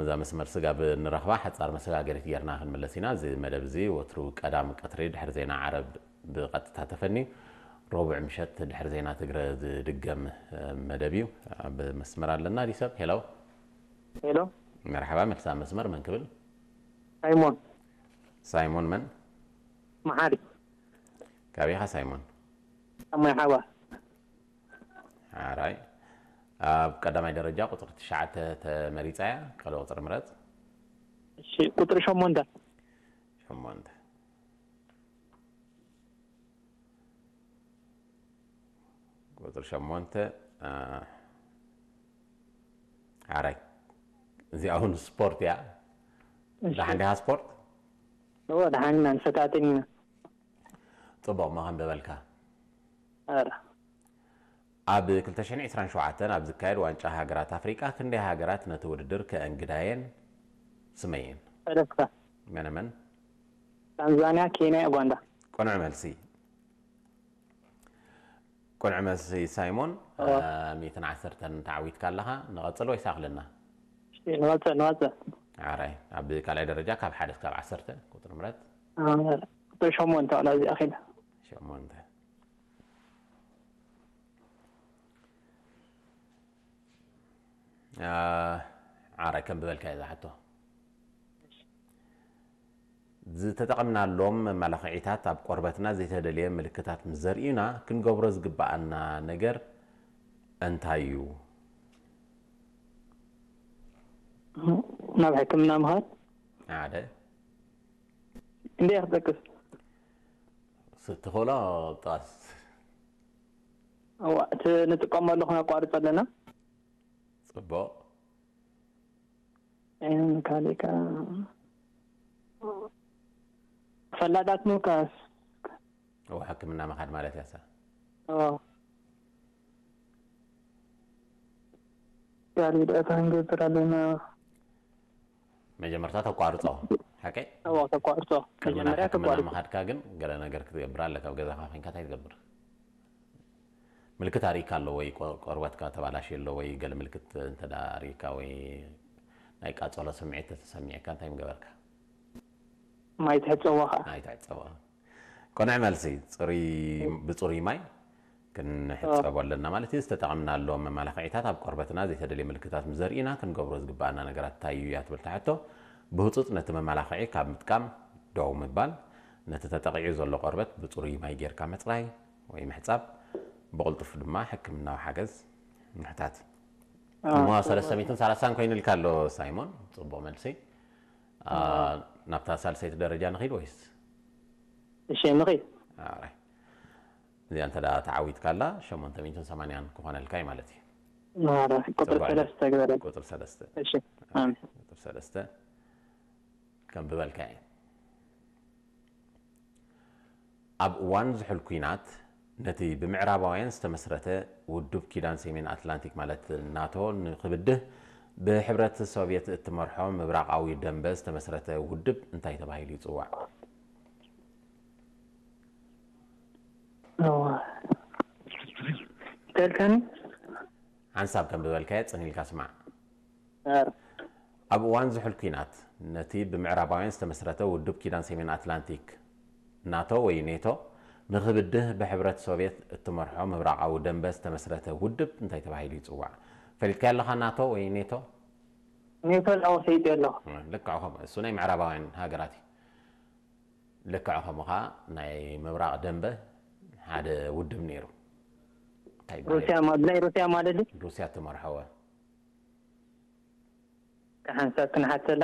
እዛ መስመር ስጋብ ንረኽባ ሓጻር መሰጋገሪት ጌርና ክንምለስ ኢና። እዚ መደብ እዚ ወትሩ ቀዳም ቀትሪ ድሕሪ ዜና ዓረብ ብቐጥታ ተፈንዩ፣ ረቡዕ ምሸት ድሕሪ ዜና ትግረ ዝድገም መደብ እዩ። ኣብ መስመር ኣለና ድዩ ሰብ? ሄሎ። ሄሎ። መርሓባ፣ መልሳ መስመር መን ክብል? ሳይሞን። ሳይሞን መን? መሓሪ። ካበይ ኢኻ ሳይሞን? ኣብ ማይ ሓባ። ሓራይ። ኣብ ቀዳማይ ደረጃ ቁጽሪ ትሽዓተ ተመሪጻ እያ። ካልእ ቁጽሪ ምረጽ። እሺ፣ ቁጽሪ ሸሞንተ። ሸሞንተ። ቁጽሪ ሸሞንተ፣ አ፣ ሓራይ። እዚኣ እውን ስፖርት እያ። እሺ። ደሓን ዲኻ ስፖርት? እወ፣ ደሓን ኢና፣ ንፈታተን ኢና። ጽቡቕ፣ መኸም በበልካ። ኧረ። ኣብ ክልተ ሽሕን ዕስራን ሸውዓተን ኣብ ዝካየድ ዋንጫ ሃገራት ኣፍሪቃ ክንደይ ሃገራት ነቲ ውድድር ከእንግዳየን ስመየን? ሰለስተ። መነ መን? ታንዛንያ፣ ኬንያ፣ ኡጋንዳ። ቅኑዕ መልሲ። ቅኑዕ መልሲ ሳይሞን። እወ። አ፣ ሚእትን ዓሰርተን ተዓዊትካ ኣለኻ። ንቐጽል ወይስ ኣኽለና? እሺ፣ ንቐጽል፣ ንቐጽል። ሓራይ። ኣብ ካልኣይ ደረጃ ካብ ሓደ እስካብ ዓሰርተ ቁጽሪ ምረጽ። አ፣ ቁጽሪ ሸሞንተ ዋላ እዚኣ ኺዳ። ሸሞንተ። አ፣ ዓራይ ከም ዝበልካ እዛ ሕቶ። ዝተጠቐምናሎም መመላኽዒታት ኣብ ቆርበትና ዘይተደልየ ምልክታት ምስ ዘርእዩና ክንገብሮ ዝግብኣና ነገር እንታይ እዩ? ናብ ሕክምና ምኻድ። ሓደ። እንዴ ክጠቅስ? ስትኽእሎ ጥቐስ። እዋ፣ እቲ ንጥቀመሉ ክነቋርጾ ኣለና። ጽቡቕ። እም፣ ካሊእ ከ ፈላጣት ምውካስ። እዎ፣ ሕክምና ምኻድ ማለት እያ። እዎ። ካሊእ ደኣ እንታይ ክንገብር ኣለና? መጀመርታ ተቋርጾ፣ ሓቀይ? እዎ፣ ተቋርጾ። ቅድሚ ናብ መጀመርያ ሕክምና ተቋርጾ። ምኻድካ ግን ገለ ነገር ክትገብር ኣለካ። ኣብ ገዛኻ ኮይንካ እንታይ ትገብር? ምልክት ኣርእካ ኣሎ ወይ ቆ-፣ ቆርበትካ ተባላሽዩ ኣሎ ወይ ገለ ምልክት እንተ ደኣ ኣርእካ ወይ ናይ ቃጸሎ ስምዒት ተተሰሚዕካ እንታይ ምገበርካ? ማይ ትሕጸቦ ኸዓ። ማይ ትሕጸቦ። ቅኑዕ መልሲ። ጽሩይ፣ ብጽሩይ ማይ ክንሕጸቦ ኣለና ማለት እዩ። ዝተጠቐምናሎም መመላኽዒታት ኣብ ቆርበትና ዘይተደልየ ምልክታት ምስ ዘርእዩና ክንገብሮ ዝግብኣና ነገራት እንታይ እዩ እያ ትብል እታ ሕቶ። ብህጹጽ ነቲ መመላኽዒ ካብ ምጥቃም ደው ምባል፣ ነቲ ተጠቒዑ ዘሎ ቆርበት ብጽሩይ ማይ ጌርካ ምጽራይ ወይ ምሕጻብ፣ ብቕልጡፍ ድማ ሕክምናዊ ሓገዝ ምሕታት። ኣዎ፣ እሞ ጽቡቕ። ሰለስተ ሚእትን ሰላሳን ኮይኑልካ ኣሎ ሳይሞን፣ ጽቡቕ መልሲ። አ፣ ናብታ ሳልሰይቲ ደረጃ ንኺድ ወይስ? እሺ፣ ንኺድ። ኣራይ። እዚኣ እንተ ደኣ ተዓዊትካ ኣላ ሸሞንተ ሚእትን ሰማንያን ክኾነልካ እዩ ማለት እዩ። ኣረ፣ ቁጽሪ ጽቡቕ። ሰለስተ ግበረ። ቁጽሪ ሰለስተ። እሺ፣ ኣሜን። ቁጽሪ ሰለስተ። ከም ብበልካ እየ። ኣብ እዋን ዝሑል ኲናት፣ ነቲ ብምዕራባውያን ዝተመስረተ ውድብ ኪዳን ሰሜን ኣትላንቲክ፣ ማለት ናቶ፣ ንኽብድህ ብሕብረት ሶቭየት እትመርሖ ምብራቓዊ ደንበ ዝተመስረተ ውድብ እንታይ ተባሂሉ ይጽዋዕ? እዋ። ተልካኒ? ሓንሳብ ከም ዝበልካዮ ጽን ኢልካ ስማዕ። ኣረ። ኣብ እዋን ዝሑል ኲናት፣ ነቲ ብምዕራባውያን ዝተመስረተ ውድብ ኪዳን ሰሜን ኣትላንቲክ፣ ናቶ ወይ ኔቶ፣ ንኽብድህ ብሕብረት ሶቭየት እትመርሖ ምብራቓዊ ደንበ ዝተመስረተ ውድብ እንታይ ተባሂሉ ይጽዋዕ? ፈሊጥካዮ ኣለኻ ናቶ ወይ ኔቶ? ኔቶ ላው ሰይድ ኣለኹ። ልክዕ ከምኡ። እሱ ናይ ምዕራባውያን ሃገራት እዩ። ልክዕ ከምኡ ኸዓ ናይ ምብራቕ ደንበ ሓደ ውድብ ነይሩ። እንታይ ይበሃል? ሩስያ ማ-፣ ናይ ሩስያ ማለት ድዩ? ሩስያ እትመርሖ እወ። ሓንሳብ ክንሓተላ።